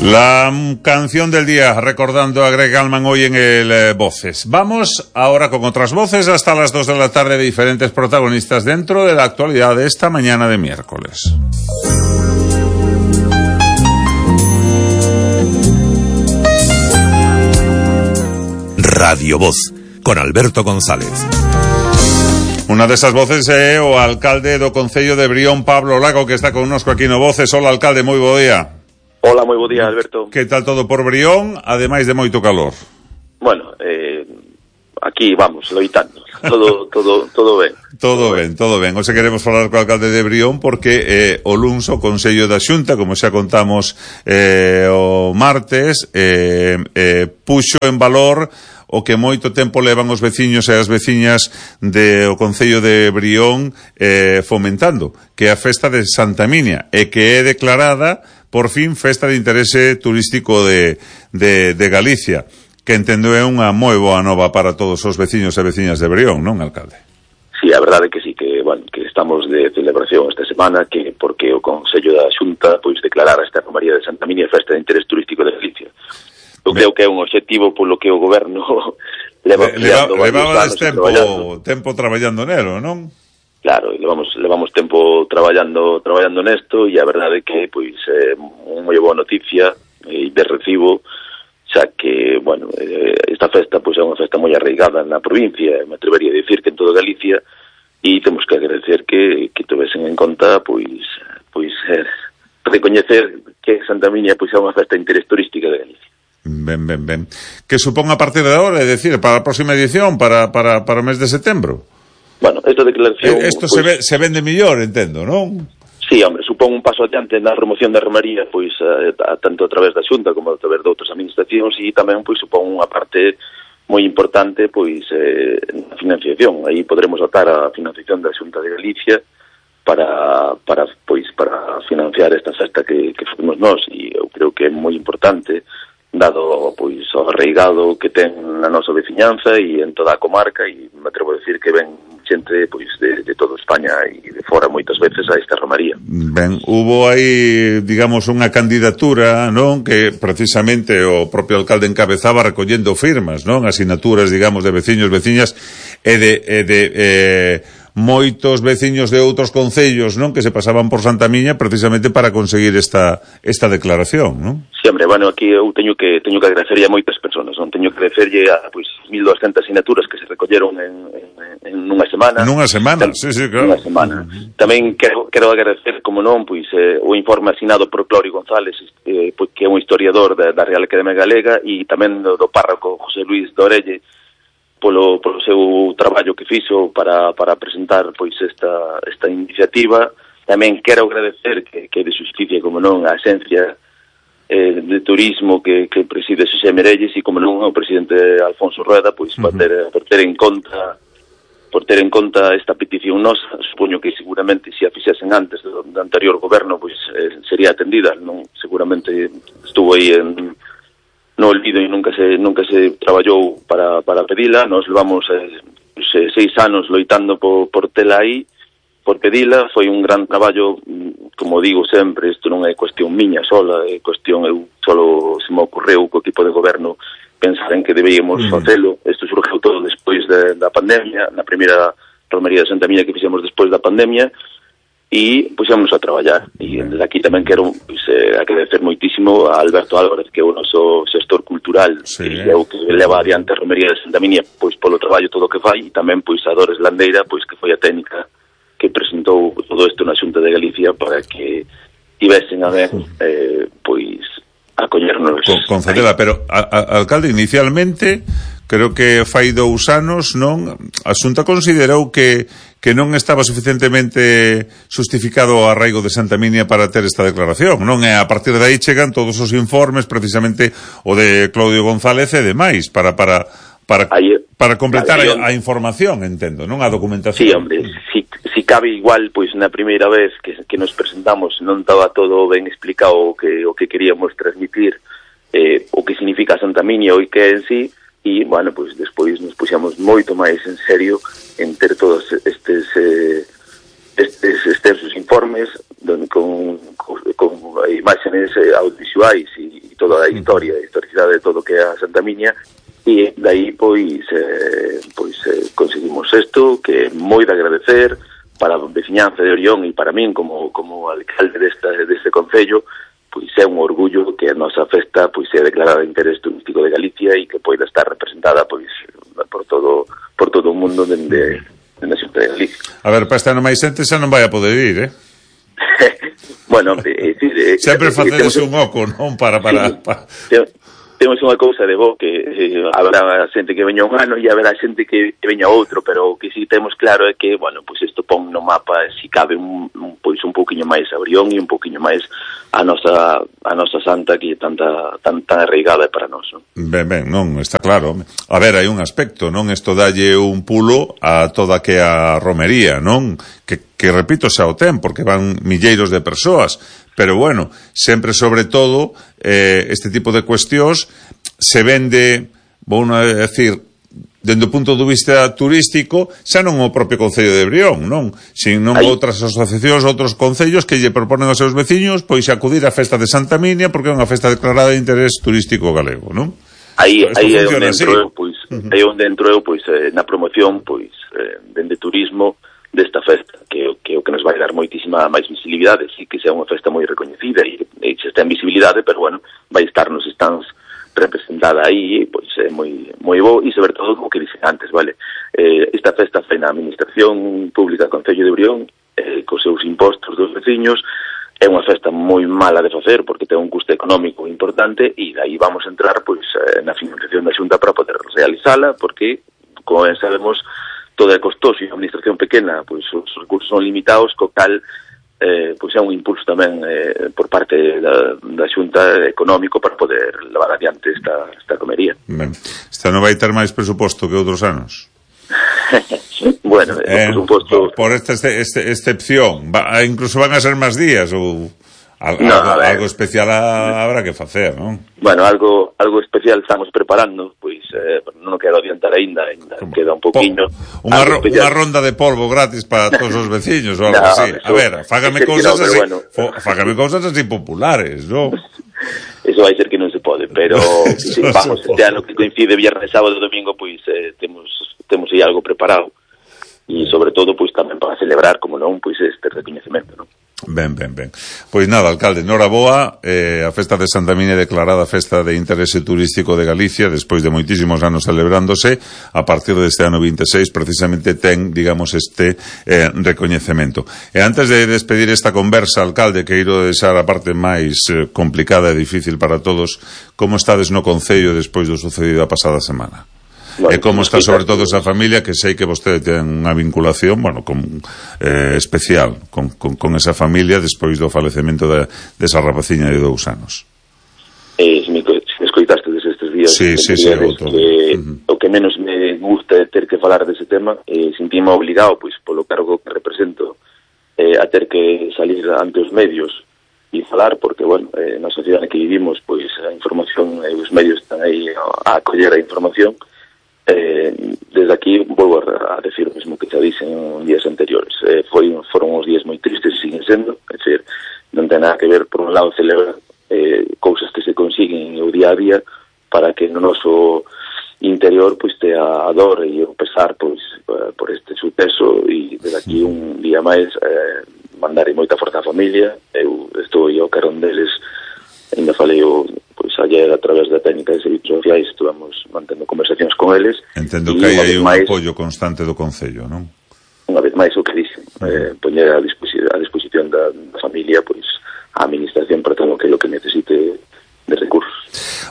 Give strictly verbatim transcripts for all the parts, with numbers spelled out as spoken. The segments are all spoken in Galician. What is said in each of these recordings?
La canción del día, recordando a Greg Allman hoy en el eh, Voces. Vamos ahora con otras voces hasta las dos de la tarde de diferentes protagonistas dentro de la actualidad de esta mañana de miércoles. Radio Voz, con Alberto González. Una desas voces é o alcalde do Concello de Brión, Pablo Lago, que está connosco aquí no Voces. Hola, alcalde, moi bo día. Hola, moi bo día, Alberto. Que tal todo por Brión, ademais de moito calor? Bueno, eh, aquí vamos, loitando. Todo todo todo ben. Todo ben, todo ben. Hoxe queremos falar co alcalde de Brión porque eh, o luns o Consello da Xunta, como xa contamos eh, o martes, eh, eh, puxo en valor o que moito tempo levan os veciños e as veciñas de o Concello de Brión eh, fomentando, que é a festa de Santa Minia, e que é declarada, por fin, festa de interese turístico de, de, de Galicia, que entendo é unha moi boa nova para todos os veciños e veciñas de Brión, non, alcalde? Sí, a verdade que sí, que, bueno, que estamos de celebración esta semana, que porque o Consello da Xunta pois declarara esta romaría de Santa Minia festa de interese turístico de Galicia. Eu creo que é un obxectivo polo que o goberno leva Le, levaba des tempo, tempo traballando nelo, non? Claro, levamos levamos tempo traballando traballando nesto, e a verdade é que pois é unha moi boa noticia e de recibo, xa que, bueno, esta festa pois é unha festa moi arraigada na provincia, me atrevería a dicir que en toda Galicia, e temos que agradecer que que tovesen en conta pois pois eh, recoñecer que Santa Minia pois é unha festa de interés turística de Galicia. Ben, ben, ben. Que supón a partir de agora, é dicir, para a próxima edición, para, para, para o mes de setembro? Bueno, esta declaración... Eh, Isto pues, se, ve, se vende mellor, entendo, non? Sí, hombre, supón un paso adiante na remoción da romaría, pois, a, a, tanto a través da Xunta como a través de outras administracións, e tamén, pois, supón unha parte moi importante, pois, eh, na financiación. Aí podremos atar a financiación da Xunta de Galicia para, para, pois, para financiar esta festa que, que fomos nós, e eu creo que é moi importante, dado pois o arraigado que ten na nosa veciñanza e en toda a comarca, e me atrevo a decir que ven xente pois de, de toda España e de fora moitas veces a esta romaría. Ben, hubo aí, digamos, unha candidatura, non, que precisamente o propio alcalde encabezaba recollendo firmas, non, asinaturas, digamos, de veciños, veciñas e de, e de eh, moitos veciños de outros concellos, non, que se pasaban por Santa Miña precisamente para conseguir esta esta declaración, non? Sí, hombre, bueno, aquí eu teño que teño que agradecerlle a moitas persoas, non teño que agradecerlle a pois mil doscientas asinaturas que se recolleron en, en, en nunha semana. Nunha semana, sí, sí, claro. Nunha semana. Uh-huh. Tamén quero, quero agradecer, como non, pois eh, o informe asinado por Clorio González, eh, pois, que é un historiador da, da Real Academia Galega, e tamén do, do párroco José Luis Dorelle, polo, polo seu traballo que fixo para, para presentar pois esta, esta iniciativa. Tamén quero agradecer que, que de Xusticia, como non, a Axencia eh, de Turismo que, que preside Xosé Merelles, e como non o presidente Alfonso Rueda, pois uh-huh. por, ter, por ter en conta por ter en conta esta petición nosa. Supoño que seguramente se a fixesen antes do, do anterior goberno, pois eh, sería atendida, non? Seguramente estuvo aí en no olvido e nunca se nunca se traballou para, para pedila. Nos levamos eh, seis anos loitando por, por tela aí, por pedila. Foi un gran traballo, como digo sempre, isto non é cuestión miña sola, é cuestión, eu solo se me ocorreu co equipo de goberno pensar en que debíamos mm. facelo. Isto surgiu todo despois de, da pandemia, na primeira romería de Santa Miña que fixemos despois da pandemia, e puxemos a traballar. E desde aquí tamén quero pues, eh, agradecer moitísimo a Alberto Álvarez, que é o noso xestor cultural, sí, que é o que leva adiante a romería de Santa Miña, pois polo traballo todo o que fai, e tamén pois a Dores Landeira, pois que foi a técnica que presentou todo isto na Xunta de Galicia para que tivesen a ver eh, pois acollernos. Con, concedela, pero a, a, alcalde, inicialmente creo que fai dous anos, non, a Xunta considerou que que non estaba suficientemente justificado o arraigo de Santa Minia para ter esta declaración, non? E a partir de aí chegan todos os informes, precisamente o de Claudio González e demais, para para para aí, para completar a, a información, entendo, non? A documentación. Sí, hombre, si, si cabe igual, pois na primeira vez que, que nos presentamos non estaba todo ben explicado o que, o que queríamos transmitir, eh, o que significa Santa Minia o que é en sí. E, bueno, pois despois nos puxamos moito máis en serio en ter todos estes eh, estes extensos informes don, con, con, con imágenes eh, audiovisuais e, e toda a historia, a historicidade de todo o que é a Santa Miña, e dai, pois, eh, pois eh, conseguimos isto, que é moi de agradecer para a veciñanza de Orión e para min como, como alcalde desta, deste concello, pois é un orgullo que a nosa festa pois é declarada de interés turístico de Galicia e que poida estar representada pois por todo por todo o mundo dende na Xunta de Galicia. A ver, para este ano máis xente xa non vai a poder ir, eh? Bueno, eh, sí, eh, sempre eh, facedes un oco, non? Para, para, sí, para... Temos unha cousa de bo que eh, habrá xente que veña un ano e habrá xente que veña outro, pero o que si temos claro é que, bueno, pois isto pon no mapa si cabe un, un pois un pouquiño máis a Brión e un pouquiño máis a nosa a nosa santa que é tanta tan tan arraigada para nós, non? Ben, ben, non, está claro. A ver, hai un aspecto, non? Isto dalle un pulo a toda que a romería, non? Que, que repito, xa o ten, porque van milleiros de persoas. Pero bueno, sempre sobre todo eh, este tipo de cuestións se vende, vou a decir, dende o punto de vista turístico, xa non o propio Concello de Brión, non? Sino outras asociacións, outros concellos que lle proponen aos seus veciños pois acudir á festa de Santa Minia porque é unha festa declarada de interés turístico galego, non? Aí, aí é onde entro eu, pois, uh-huh. aí onde entro eu, pois, eh, na promoción, pois, eh, dende turismo desta festa, que, que o que nos vai dar moitísima máis visibilidade, sí que sea unha festa moi recoñecida e, e se está en visibilidade, pero bueno, vai estar nos stands representada aí, pois é moi moi bo e sobre todo, como que dixen antes, vale, eh, esta festa foi na Administración Pública do Concello de Brión, eh, cos seus impostos dos veciños, é unha festa moi mala de facer porque ten un custo económico importante e dai vamos a entrar pois eh, na financiación da Xunta para poder realizala, porque, como ben sabemos, todo é costoso e a administración pequena, pois os recursos son limitados, co cal eh, pois é un impulso tamén eh, por parte da, da Xunta económico para poder levar adiante esta, esta comería. Ben, esta non vai ter máis presuposto que outros anos? Bueno, eh, por suposto... Por esta este, este, excepción, va, incluso van a ser máis días ou... Al, no, algo, algo especial a, habrá que facer, non? Bueno, algo algo especial estamos preparando, pois eh, non quero adiantar aínda, aínda queda un poquinho. Unha, ro, unha ronda de polvo gratis para todos os veciños ou algo no, así. Eso, a ver, fágame cousas no, así, bueno. fágame cousas así populares, non? Eso vai ser que non se pode, pero si, vamos, este ano que coincide viernes, sábado e domingo, pois eh, temos temos aí algo preparado. E sobre todo, pois tamén para celebrar, como non, pois este recoñecemento, non? Ben, ben, ben. Pois nada, alcalde, noraboa, eh, a festa de Santa Minia declarada festa de interese turístico de Galicia, despois de moitísimos anos celebrándose, a partir deste ano vinte e seis, precisamente ten, digamos, este eh, recoñecemento. E antes de despedir esta conversa, alcalde, que iro deixar a parte máis eh, complicada e difícil para todos, como estades no Concello despois do sucedido a pasada semana? Bueno, e como está sobre todo esa familia, que sei que vostede ten unha vinculación, bueno, con, eh, especial con, con, con esa familia despois do falecemento de, desa rapaciña de dous anos. Eh, se me, se me escoitaste desde estes días, sí, sí, sí, que, uh-huh. o que menos me gusta é ter que falar dese tema, eh, sentime obligado, pois, polo cargo que represento, eh, a ter que salir ante os medios e falar, porque, bueno, eh, na sociedade que vivimos, pois, a información e os medios están aí a acoller a información. Eh, desde aquí volvo a, a decir o mesmo que xa dixen en días anteriores, eh, foi, foron uns días moi tristes e siguen sendo, é dicir, non ten nada que ver, por un lado, celebrar eh, cousas que se consiguen o día a día para que no noso interior pois tea a dor e o pesar pois por este suceso, e desde aquí un día máis eh, mandar moita forza á familia. Eu estou ao carón deles, ainda falei o pois ayer a través da técnica de servicios sociais, estuvamos mantendo conversacións con eles. Entendo que hai aí un máis, apoio constante do Concello, non? Unha vez máis o que dixen, eh, poñer a, disposi- a disposición da, da familia, pois a administración para todo o que lo que necesite de recursos.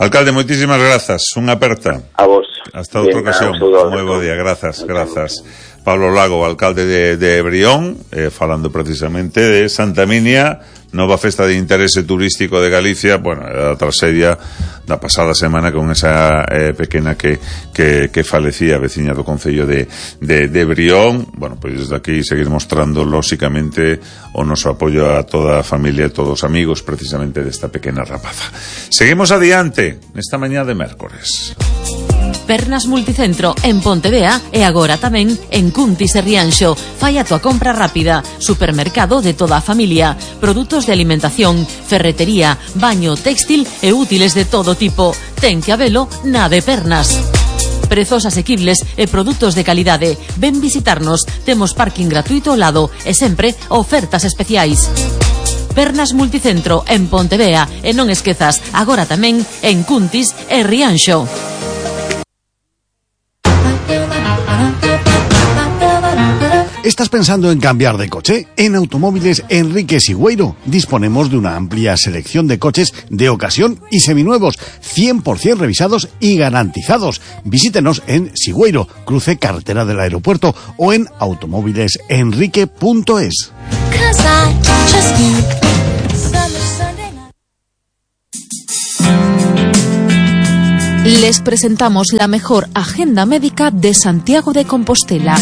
Alcalde, moitísimas grazas, unha aperta. A vos. Hasta outra ocasión. Moi bo día, grazas, grazas. Pablo Lago, alcalde de, de Brión, eh, falando precisamente de Santa Minia, nova festa de interese turístico de Galicia, bueno, a traxedia da pasada semana con esa eh, pequena que, que, que falecía, veciña do Concello de, de, de Brión. Bueno, pois desde aquí seguir mostrando, lóxicamente, o noso apoio a toda a familia e todos os amigos, precisamente, desta pequena rapaza. Seguimos adiante, nesta mañá de mércores. Pernas Multicentro en Pontevea e agora tamén en Cuntis e Rianxo. Fai a tua compra rápida. Supermercado de toda a familia. Produtos de alimentación, ferretería, baño, textil e útiles de todo tipo. Ten que habelo na de Pernas. Prezos asequibles e produtos de calidade. Ven visitarnos. Temos parking gratuito ao lado e sempre ofertas especiais. Pernas Multicentro en Pontevea e non esquezas, agora tamén en Cuntis e Rianxo. ¿Estás pensando en cambiar de coche? En Automóviles Enrique Sigüeiro disponemos de una amplia selección de coches de ocasión y seminuevos, cien por ciento revisados y garantizados. Visítenos en Sigüeiro, cruce carretera del aeropuerto, o en automóviles enrique punto es. Les presentamos la mejor agenda médica de Santiago de Compostela.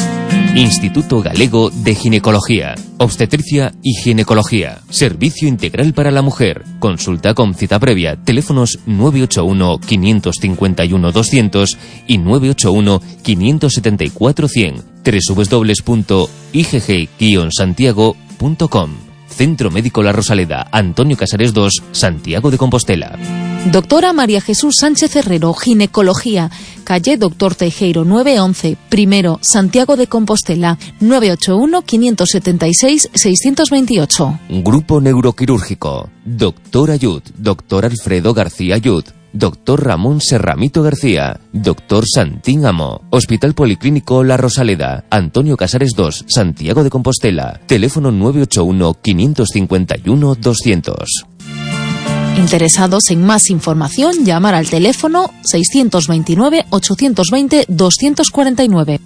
Instituto Galego de Ginecología, Obstetricia y Ginecología. Servicio integral para la mujer. Consulta con cita previa. Teléfonos nueve ocho uno, cinco cinco uno, doscientos y nueve ocho uno, cinco siete cuatro, cien. doble u doble u doble u punto i g g guion santiago punto com. Centro Médico La Rosaleda, Antonio Casares dos, Santiago de Compostela. Doctora María Jesús Sánchez Herrero, Ginecología, calle Doctor Teijeiro nueve once, primero, Santiago de Compostela, nueve ocho uno, cinco siete seis, seis dos ocho. Grupo Neuroquirúrgico, Doctor Ayud, Doctor Alfredo García Ayud, Doctor Ramón Serramito García, Doctor Santín Amo, Hospital Policlínico La Rosaleda, Antonio Casares dos, Santiago de Compostela, teléfono nueve ocho uno, cinco cinco uno, doscientos. Interesados en más información, llamar al teléfono seiscientos veintinueve, ochocientos veinte, doscientos cuarenta y nueve.